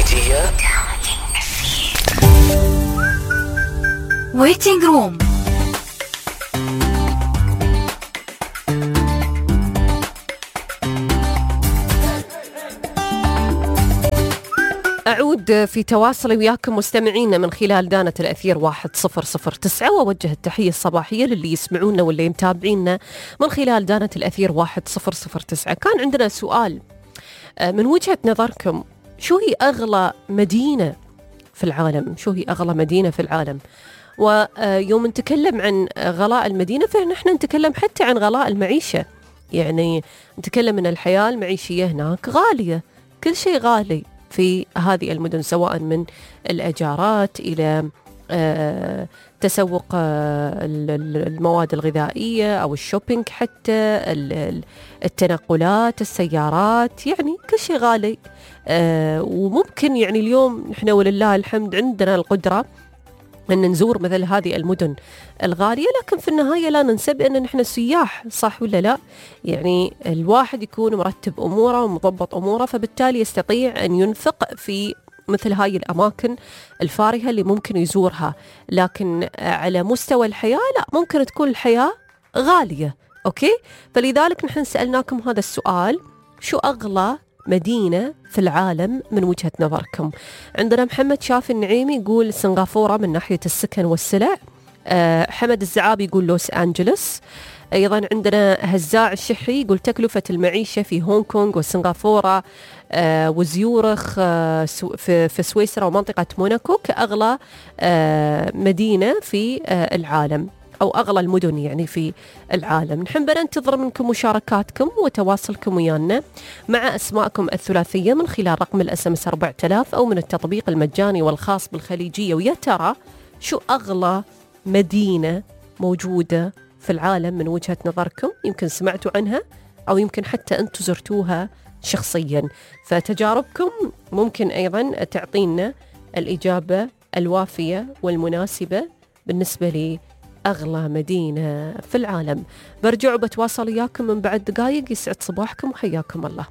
الخليجية. ويتنج روم. أعود في تواصلي وياكم مستمعينا من خلال دانة الأثير 1009، وأوجه التحية الصباحية للي يسمعونا واللي متابعينا من خلال دانة الأثير 1009. كان عندنا سؤال، من وجهة نظركم شو هي أغلى مدينة في العالم؟ شو هي أغلى مدينة في العالم؟ ويوم نتكلم عن غلاء المدينة فنحن نتكلم حتى عن غلاء المعيشة، يعني نتكلم أن الحياة المعيشية هناك غالية، كل شيء غالي في هذه المدن، سواء من الأجارات إلى تسوق المواد الغذائية أو الشوبينج، حتى التنقلات، السيارات، يعني كل شيء غالي. وممكن يعني اليوم نحن ولله الحمد عندنا القدرة أن نزور مثل هذه المدن الغالية، لكن في النهاية لا ننسى بأن نحن سياح، صح ولا لا؟ يعني الواحد يكون مرتب أموره ومضبط أموره، فبالتالي يستطيع أن ينفق في مثل هاي الأماكن الفارهة اللي ممكن يزورها. لكن على مستوى الحياة لا، ممكن تكون الحياة غالية. أوكي، فلذلك نحن سألناكم هذا السؤال، شو أغلى مدينة في العالم من وجهة نظركم؟ عندنا محمد شافي النعيمي يقول سنغافورة من ناحية السكن والسلع. حمد الزعابي يقول لوس أنجلوس. أيضا عندنا هزاع الشحري يقول تكلفة المعيشة في هونغ كونغ وسنغافورة وزيورخ في سويسرا ومنطقة موناكو كأغلى مدينة في العالم، أو أغلى المدن يعني في العالم. نحن ننتظر منكم مشاركاتكم وتواصلكم ويانا مع أسماءكم الثلاثية من خلال رقم الSMS 4000 أو من التطبيق المجاني والخاص بالخليجية. ويا ترى شو أغلى مدينة موجودة في العالم من وجهة نظركم؟ يمكن سمعتوا عنها أو يمكن حتى أنتوا زرتوها شخصيا، فتجاربكم ممكن أيضا تعطينا الإجابة الوافية والمناسبة بالنسبة لي أغلى مدينة في العالم. برجع وبتواصل وياكم من بعد دقايق. يسعد صباحكم وحياكم الله.